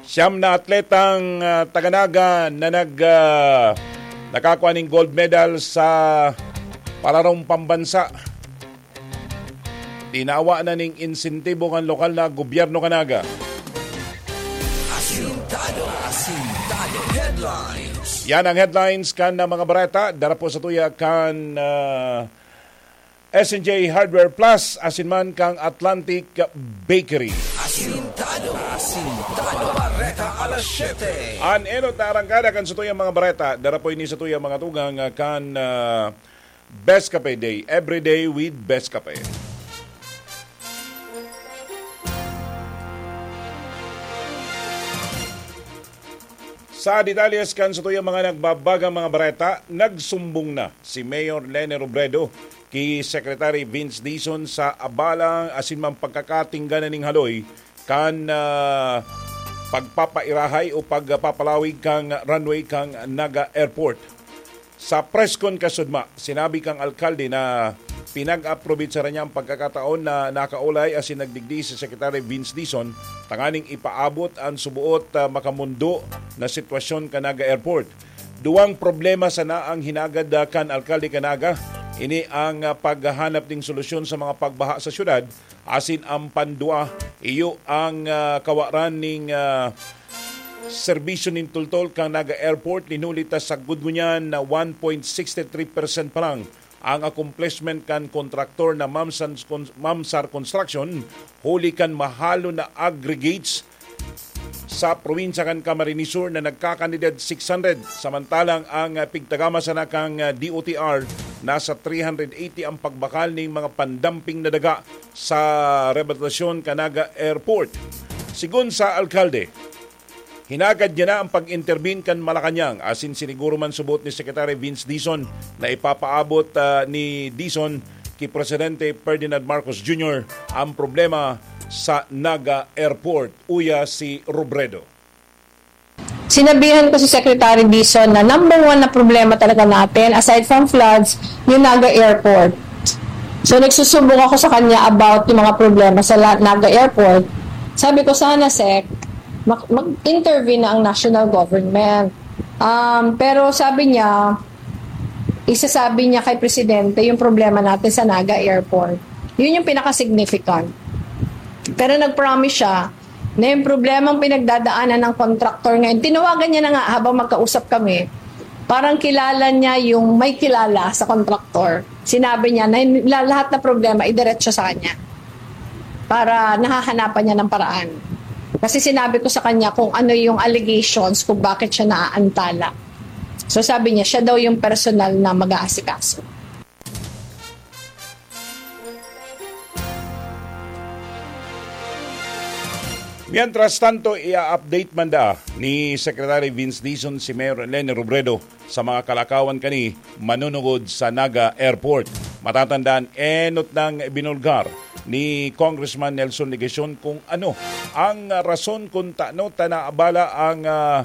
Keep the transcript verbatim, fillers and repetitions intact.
Siyam na atletang, ah, taga Naga na nag, ah, nakakua ning gold medal sa palarong pambansa. Tinawa na ning insentibo kan lokal na gobyerno kan Naga. Asintado, asintado. Headlines. Yan ang headlines kan, ah, mga bareta. Dara po sa tuya kan, ah, S N J Hardware Plus, asin man kang Atlantic Bakery. Asintado, asintado. Bareta alas siyete. An enot na arangkada kan satuyang mga bareta, dara po ini satuyang mga tugang, ah, kan, ah, Best Cafe Day. Every day with Best Cafe. Sa detalles kan satuyang mga nagbabagang mga bareta, nagsumbong na si Mayor Leni Robredo ki Secretary Vince Dizon sa abala asin man pagkakatingga na ning haloy kan, ah, pagpapairahay o pagpapalawig kan runway kan Naga Airport. Sa press con kasudma, sinabi kan alkalde na pinag-aprobetsaran niya an pagkakataon na nakaolay asin nagdigdi si Secretary Vince Dizon tanganing ipaabot an suboot, ah, makamondo na sitwasyon kan Naga Airport. Duwang problema sana ang hinagad, ah, kan alkalde kan Naga. Ini ang, ah, paghahanap nin solusyon sa mga pagbaha sa syudad, asin ang pandua, iyo ang, ah, kawaran ning, ah, serbisyo nin tultol kan Naga Airport. Linuli ta sagkod ngunyan na one point sixty three percent pa lang ang accomplishment kan kontraktor na Mamsan Cons-, Mamsar Construction, huli kan mahalon na aggregates sa probinsya kan Camarines Sur na nagkakantidad six hundred, samantalang ang, ah, pigtagama sana kan, ah, D O T R, nasa three hundred eighty ang pagbakal ning mga pandamping na daga sa rehabilitasyon kan Naga Airport. Sigon sa alkalde, hinagad niya na ang pag-intervene kan Malacañang, asin siniguro man subot ni Secretary Vince Dizon na ipapaabot, ah, ni Dizon ki Presidente Ferdinand Marcos Junior ang problema sa Naga Airport. Uya si Robredo. Sinabihan ko si Secretary Dizon na number one na problema talaga natin, aside from floods, yung Naga Airport. So, nagsusumbong ako sa kanya about yung mga problema sa La-, Naga Airport. Sabi ko, "Sana, Sec, mag-, mag-intervene na ang national government." Um, pero sabi niya, isasabi niya kay Presidente yung problema natin sa Naga Airport. Yun yung pinaka-significant. Pero nag-promise siya na yung problemang pinagdadaanan ng contractor ngayon, tinawagan niya na nga habang magkausap kami, parang kilala niya yung may kilala sa contractor. Sinabi niya na yung la-, lahat na problema, idiretso sa kanya para nahahanapan niya ng paraan. Kasi sinabi ko sa kanya kung ano yung allegations, kung bakit siya naaantala. So sabi niya, siya daw yung personal na mag-aasikaso. Mientras tanto, i-update man da ni Secretary Vince Dizon si Mayor Leni Robredo sa mga kalakawan kani manunungod sa Naga Airport. Matatandaan, enot nang binulgar ni Congressman Nelson Legacion kung ano ang rason kung tano ta naabala ang, ah,